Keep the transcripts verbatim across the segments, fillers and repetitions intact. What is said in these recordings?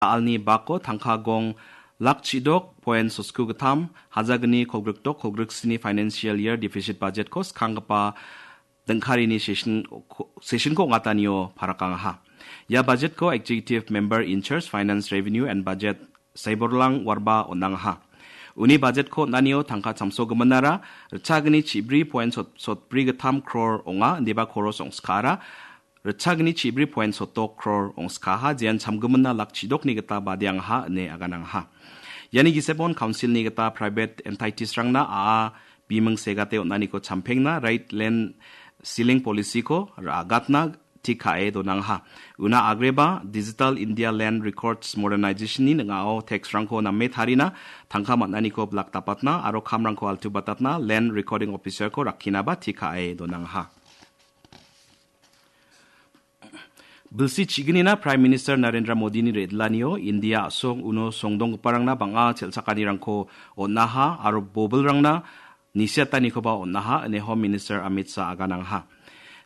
Alni bako tangka gong lak chidok point sotku gittam, hajagni kolgrikdok kolgriksni financial year deficit budget-ko skanggipa dingkarini session, session-ko ong·atanio parakangaha. Ia budget-ko Executive Member in Charge Finance, Revenue and Budget Saiborlang Warba on·angaha. Uni budget-ko on·anio tangka chamsogiminara ritchagni chibri point sot-, sotbri gittam crore ong·a, indiba koros ong·skaara ritchagni chibri point sotdok crore ong·skaha, jean chamgiminna lak chidokni gita badeangaha ine aganangaha. Iani gisepon council-ni gita private entities-rangna a·a biming segate on·aniko champengna right land ceiling policy-ko ra·gatna tik ka·e donangaha. Una agreba Digital India Land Records Modernization-ni ning·ao tax-rangko name tarina, tangka man·aniko bilak dapatna aro kamrangko altubatatna Land Recording Officer-ko rakkinaba tik ka·e donangaha. Bilsi chiginina Prime Minister Narendra Modini re·dilanio India a·song uno songdonggiparangna bang·a chel·chakanirangko on·aha aro bobilrangna nisiatanikoba on·aha ine Home Minister Amit Shah aganangaha.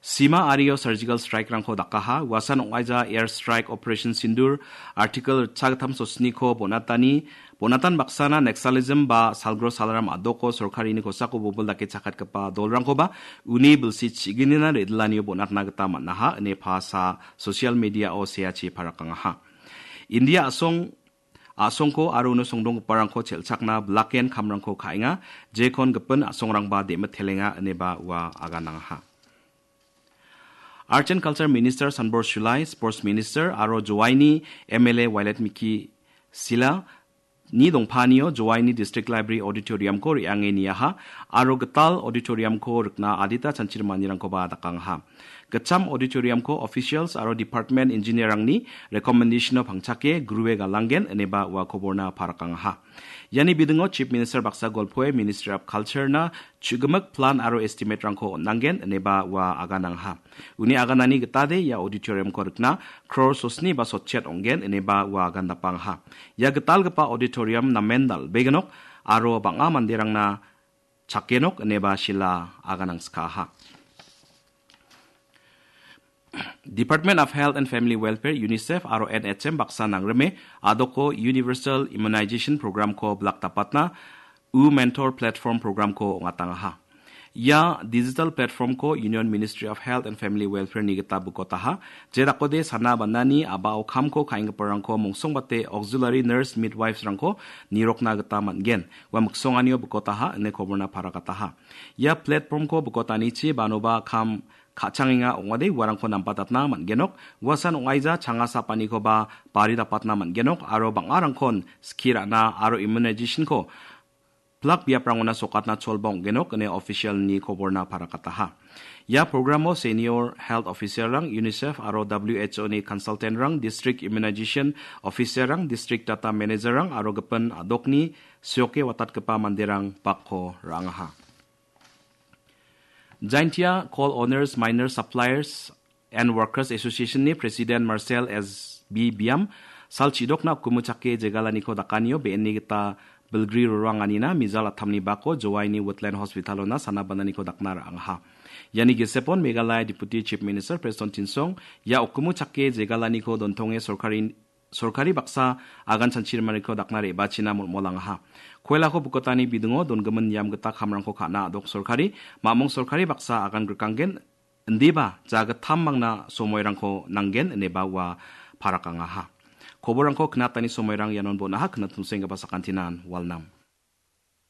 Sima ario surgical strike-rangko dakaha, uasan ong·aija air strike Operation Sindoor, Article ritchagittam sotsiniko bonatani, bonatan baksana Naxalism ba salgro salram a·doko sorkarini kosako bobil dake chakatgipa dolrangkoba uni bilsi chiginina re·dilanio bonatna gita man·aha ine pasa social media-o seachi parakangaha. India a·song, a·songko aro uno songdonggiparangko chel·chakna bilaken kamrangko ka·enga, jekon gipin a·songrangba demitelenga ineba ua aganangaha. Arts and Culture Minister Sanbor Shulai, Sports Minister aro Jowaini M L A Violet Miki Sila ni dongpanio Jowaini District Library Auditorium-ko re·ange niaha aro gital auditorium-ko rikna adita chanchir manirangkoba dakangaha. Gitcham auditorium-ko officials aro department engineer-rangni recommendation-o pangchake grue galanggen ineba ua koborna parakangaha. Iani bidingo Chief Minister baksa golpoe Ministry of Culture-na chu·gimik plan aro estimate-rangko on·anggen ineba ua aganangaha. Uni aganani gitade ia auditorium-ko rikna crore sosni ba sotchet ong·gen ineba ua agandapangaha. Ia gitalgipa auditorium namen dal·beginok aro bang·a manderangna chakenok ineba Sila aganangskaha. Department of Health and Family Welfare, UNICEF aro N H M baksa nangrime a·doko Universal Immunization Program-ko bilak dapatna U Mentor Platform Program-ko ong·atangaha. Ia digital platform-ko Union Ministry of Health and Family Welfare-ni gita bikotaha. Jedakode sana banani a·bao kamko ka·enggiparangko mongsongbate auxiliary nurse midwives-rangko nirokna gita man·gen. Ua miksonganio bikotaha ine koborna parakataha. Ia platform-ko bikotanichi banoba kam ka·changenga ong·ode uarangko nampatatna man·genok. Uasan ong·aija changa sapanikoba bari dapatna man·genok aro bang·arangkon skie ra·na aro immunization-ko plak biaprangona sokatna cholba ong·genok ine official-ni koborna parakataha. Ia programo senior health officer-rang, UNICEF aro W H O-ni consultant-rang, district immunization officer-rang, district data manager-rang aro gipin a·dokni sioke watatgipa manderang bakko ra·angaha. Jaintia Coal Owners, Miners, Suppliers and Workers Association-ni President Marcel S B Biam sal chidokna ukkumu chake jegalaniko dakanio be·enni gita bilgri roranganina mijal attamni bako Jowaini Woodland Hospital-ona sana bananiko dakna ra·angaha. Iani gisepon Meghalaya Deputy Chief Minister Prestone Tynsong ia ukkumu chake jegalaniko dontonge sorkari sorkari baksa agan chanchirimaniko dakna re·bachina molmolangaha. Koilako bikotani bidingo dongimin niam gita kamrangko ka·na a·dok sorkari, mamung sorkari baksa agan grikanggen, indiba jagittam mangna somoirangko nanggen ineba ua parakangaha. Koborrangko knatani somoirang ianon bon·aha, knattumsenggipa sakantinan walnam.